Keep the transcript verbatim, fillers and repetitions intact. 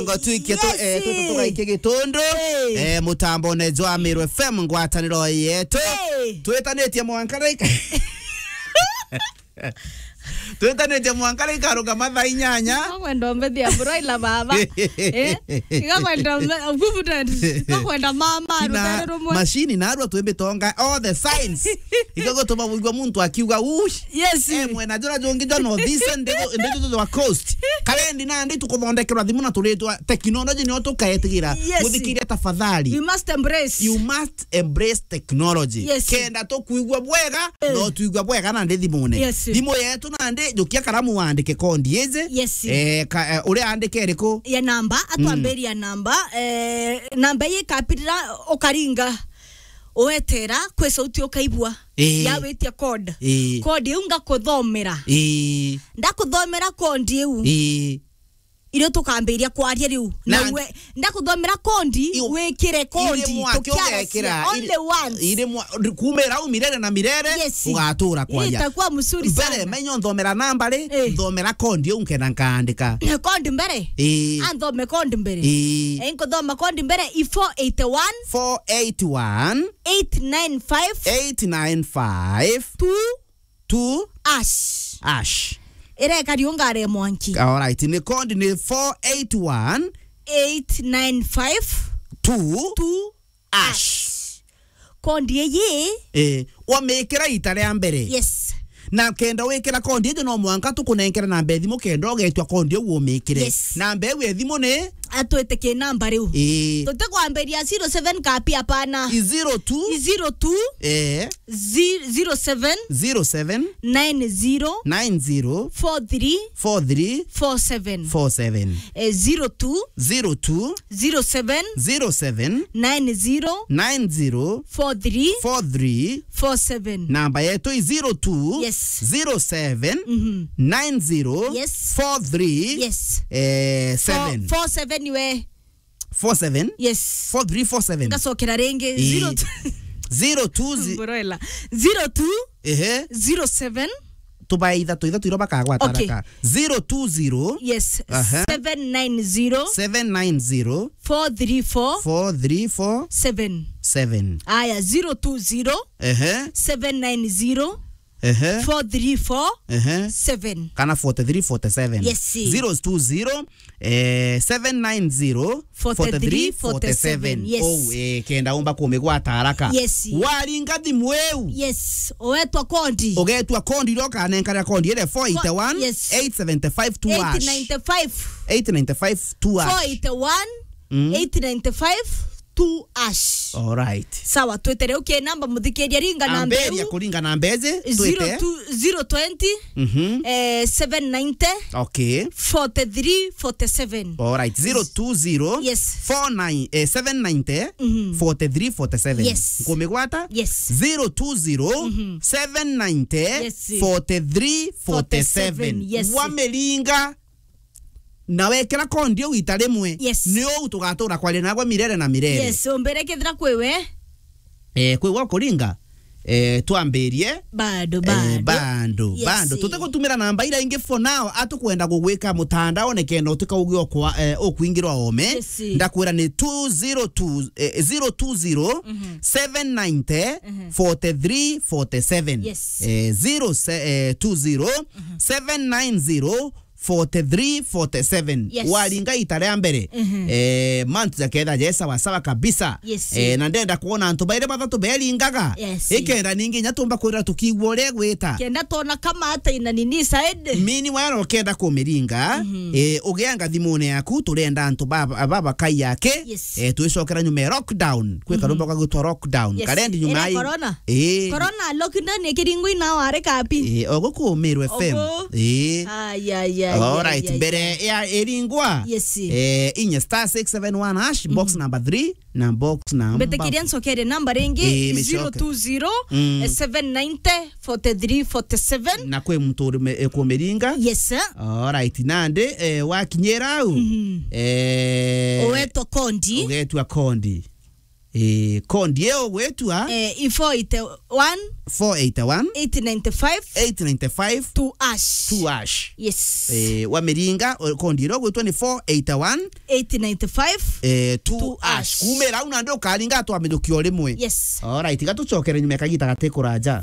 Ngo twikie tu, eh, Yes. tu, tu, tugaike gitundu. Hey. Eh, mutambone jwa Meru F M, ngwataniro yetu. Hey. Twitanitie mwanka rika. Twitanitie mwanka rika ruga mathaa inyanya. Iga kwenda umbe thia broiler baba. Eh? Iga kwenda umbe, good. Iga kwenda mama, Kina ruthere rumwe. Machine na arua twi mitonga, all the signs. Iga gutuma wigua muntu akiuga, "Ush." Yes. Eh, mwena jura jungi jwa North East, ndi, ndi jwa Coast. Karendi nandi tukuthondekerwa thimu na turitwa technology nio tukaetigira. Yes. Muthikiria tafadhali. We must embrace. You must embrace technology. Yes. Kenda tukwigua bwega, eh, no twigua bwega na ndi thimune. Yes. Thimu yetu nandi, jukia karamu wandike kondi iji. Yes. Eh, ka, eh, uria andike iriku? Ya namba, atwambiria namba. Eh, namba ii ikapirira ukaringa. Wetera kwi sauti ukaigua. Ii. Ya witia code. Ii. Code iu ngakuthomera. Ii. Ndakuthomera code iu. Ii. Irio tukambiria kwaria riu. Na Na we, ndakuthomera code, iu, wikire code, iri mwaki tukiaracia. Ugekira, iri, only once. Iri mwa-, kumira au milele na milele, yes, ugatura kwaria. Itakuwa mzuri sana. Mbere, menyo nthomera namba ri, eh, nthomera code iu nkenda nkaandika. Code mbere? Ii. Anthome code mbere. Ii. Eh, nkuthoma code mbere, i four eight one. Four eight one. Eight nine five. Eight nine five. Two. Two. Ash. Ash. Ireka riunga ria mwanki. Alright, ni code ni four eight one. Eight nine five. Two. Two. Ash. Ash. Code iyi. Eh, wamikira ita ria mbere. Yes. Na kenda wikira code ijo no mwanka tukunenkere namba ya thimu kenda ugetwa code iu umikire. Yes. Namba iu ya thimu ni? Atwite ki namba riu. Ii. Tutikwambiria zero seven kapi, hapana. I zero two. I zero two. Eh. Zi-, zero seven. Zero seven. Nine zero. Nine zero. Four three. Four three. Four seven. Four seven. Eh, zero two. Zero two. Zero seven. Zero seven. Nine zero. Nine zero. Four three. Four three. Four seven. Namba yetu i zero two. Yes. Zero seven. Mhm. Nine zero. Yes. Four three. Yes. Eh, seven. Four, four seven iwe. Four seven? Yes. Four three four seven. Ngacokera ringi. Ii. Zero two. Zero two zi- Mboroela. Zero two. Ehe. Zero seven. Tubae ithatu, ithatu iria bakagwata. Okay. Haraka. Zero two zero. Yes. Aha. Seven nine zero. Seven nine zero. Four three four. Four three four. Seven. Seven. Aya, zero two zero. Ehe. Seven nine zero. Ehe. Four three four. Ehe. Seven. Kana forty three forty seven. Yes. Zero two zero, eh, seven nine zero, forty three forty seven. Forty three forty seven. Yes. Oh, eh, kenda umba kumigwata haraka. Yes. Waringa thimu iu. Yes. Ugetwa code. Ugetwa code iria ukanenkana code ile four eight one, yes, eight seven five two hash. Eight nine five. Eight nine five two hash. Four eight one, mm, eight nine five two hash. All right. Sawa, twite riu ki namba muthikiria ringa namba. Amberia iu. Kuringa namba iji, twite. Zero two, zero twenty, mhm, eh, seven ninety, okay, forty three forty seven. All right, zero two zero, yes, four nine, eh, seven ninety, mhm, forty three forty seven. Yes. Nkumigwata? Yes. Zero two zero, mhm, seven ninety, yes, forty three forty seven. Forty seven, yes. Wamiringa. Na wekira code iu ita rimwe, yes, ni uu tugatura kwaria nagwe mirere na mirere. Yes, umbire kethira kwi we. Eh, kwi we ukuringa, eh, twambirie. Bado, eh, bado. Bado, yes, bado. Tutigutumira namba iria ingi for now, atukwenda gugwika mutandaone kenda utikauge okwa, eh, ukwingirwa ome. Yes. Ndakwira ni two zero two, eh, zero two zero, mhm, seven ninety, mhm, forty three forty seven. Yes. Eh, zero se-, eh, two zero, mhm, seven nine zero, forty three forty seven. Yes. Waringa ita ria mbere. Mhm. Eh, mantu jaketha je sawa sawa kabisa. Yes. Eh, na ndenda kuona antu bairi bathatu beringaga. Yes. Ikenda ningi nya tumba kwira tukigua uria gwita. Kenda tona kama ata ina nini side. Mini wara ukenda kumiringa, mhm, eh, ugianga thimune yaku, turenda antu baba, baba kai yake. Yes. Eh, twicokera nyuma ya lockdown. Kwi karumba, mhm, kagwitwa lockdown. Yes. Karendi nyuma. Ira ai- corona. Eh. Corona lockdown ikiringwa ina wari kapi? Eh, ogo ku Meru F M. Ogo. Eh. Ay, ay, ay, all right, ay, ay, mbere ay. Ya iringwa. Yes. Eh, inya star six seven one hash, box, mhm, number three, na box number. Mbitikiria ncokerie namba ringi, eh, micoke. Zero two zero, mm, eh, seven ninety, forty three forty seven. Na kwi muntu uri me-, eh, kumiringa. Yes, sir. All right, nandi, eh, wakinyira au, mhm, eh, ugetwa code. Ugetwa code. Eh, kondi eo gwetua. Eh, i four eight one, four eight one, eight nine five, eight nine five, two ash. Two ash. Yes. Eh, wamiringa, o, kondi ero gwitwa ni four eight one, eight nine five, eh, two ash. Kumira au nandi ukaringa atwa mithuki o rimwe. Yes. Alright, gatucokere nyuma ya kagita gati kuraja.